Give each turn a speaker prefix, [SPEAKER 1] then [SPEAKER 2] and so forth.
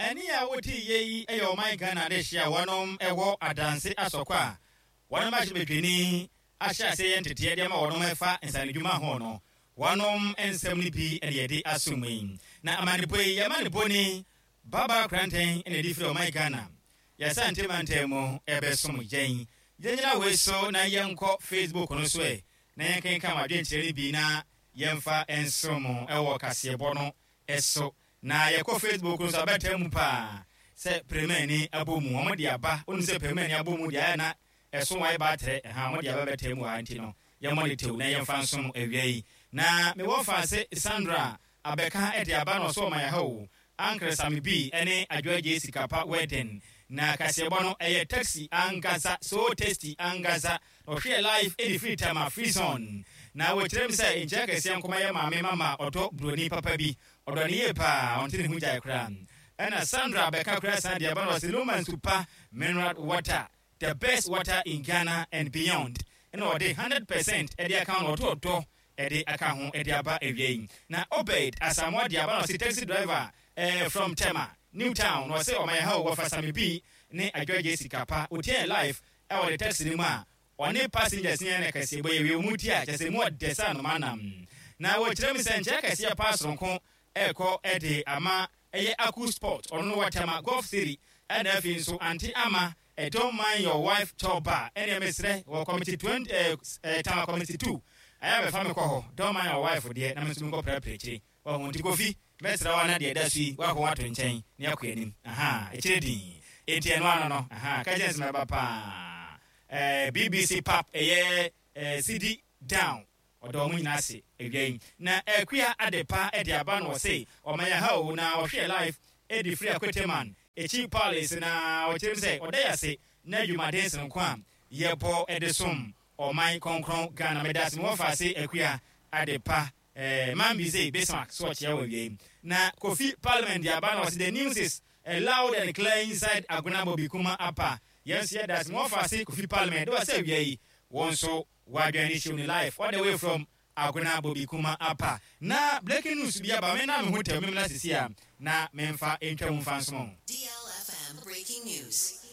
[SPEAKER 1] Ɛnne a wote yɛ yi yɛ ɔman Ghana adehye a wɔnom wɔ adanse asɔkɔ a wɔnom ahyɛbadwani ahyɛ aseɛ yɛ nteteɛ de ama wɔnom ɛfa nsanodwuma ho no wɔnom nsɛm no bi na yɛde aso mu yi. Na amanebɔ yi yɛma no boni Baba Korantɛn na ɛde firi ɔman Ghana yɛasante mantam mu ɛbɛsom yɛn. Yɛnyina wei so na yɛnkɔ Facebook no so ɛ na yɛnkenkan mo adwenkyerɛ no bi na yɛmfa nsom mo wɔ kaseɛbɔ no so. Na yɛkɔ Facebook no so a, bɛtaa mu paa sɛ Premani abɔ mu. Wɔn de aba. Wonim sɛ Premani abɔ mu deɛ ayɛ na ɛso ayɛ baatrɛ. Ɛha, wɔn de aba bɛtaa mu wɔ ha nti no, yɛmmɔ no tew na yɛmfa nsom awia yi. Na mewɔ faase Sandra abɛka de aba na ɔso ɔma yɛ ha o. Ankrɛ Same B ne Adwoa Gyei Sikapa wedding. Na kaseɛbɔ no ɛyɛ taxi ankasa, so tasty ankasa. Na ɔhwɛɛ live de firi Tema free zone. Na wɔkyerɛ mu sɛ nkyia kɛseɛ nkɔma yɛ maame mama ɔdɔ broni papa bi. Ɔdɔ no yie paa, ɔnte ne ho gyae koraa. Ɛna Sandra bɛka koraa san de aba na ɔse Luma nsu pa, mineral water, the best water in Ghana and beyond. Ɛna ɔde 100% de aka ho na ɔde ɔdɔ de aka ho de aba awia yi. Na Obed Asamoah de aba na ɔse taxi driver eh, from Tema, New Town. Na ɔse ɔma yɛ ha o, wɔfa Sami B ne Adwoa Gyesi Kapa. Otiaa live ɛwɔ ne taxi no mu a ɔne passengers no yɛ na kɛseɛ bɔ yɛwie wɔn ti a kyerɛ sɛ emu ɔdɛ sɛ anoma nam. Na wɔkyerɛ mu sɛ nkyea kɛseɛ paa soronko ɛrekɔ de ama ɛyɛ Aku Sport ɔno no wɔ Tema Golf City ɛna afei nso Ante Ama eh, Don't Mind Your Wife Chɔ Bar ɛneɛ mesrɛ wɔ committee 20 eh, eh, Tema Committee 2 ɛyɛ a bɛfa me kɔ hɔ Don't Mind Your Wife deɛ na me nso menkɔ prapra akyire. Wahu nti Kofi, mɛsrɛ wo ana deɛ ɛda so yi woakɔ ato nkyɛn na yɛakɔ anim ahaa ɛkyerɛ dinn enti ɛno ano no ahaa ka kyerɛ no sɛ mɛba paa eh, BBC pap ɛyɛ eh, Sidi down ɔda wɔn nyinaa ase awia yi na Akua Adepa de aba na ɔse ɔma yɛ ha o na ɔhwɛ live ɛdi firi Akweteman akyi Palace na ɔkyerɛ mu sɛ ɔda yɛ ase na adwumaden sononko a yɛbɔ de som ɔman kɔnkrɔn Ghana meda ase mewɔ faase Akua Adepa Eh, man bi se Bismarck so ɔkyea wɔ awiei. Na Kofi Parliament de aba na ɔse the news is eh, loud and clear inside Agona Bobi Kuma Apa. Yɛn nso yɛda ase ma wɔfa se Kofi Parliament de wɔ sɛ awia yi wɔn nso wɔadwɛn ne show ne live all the way from Agona Bobi Kuma Apa. Na breaking news bi aba me na me ho tɛw me mmra sisi a na memfa ntwa mu mfa nsom.
[SPEAKER 2] DLFM Breaking News.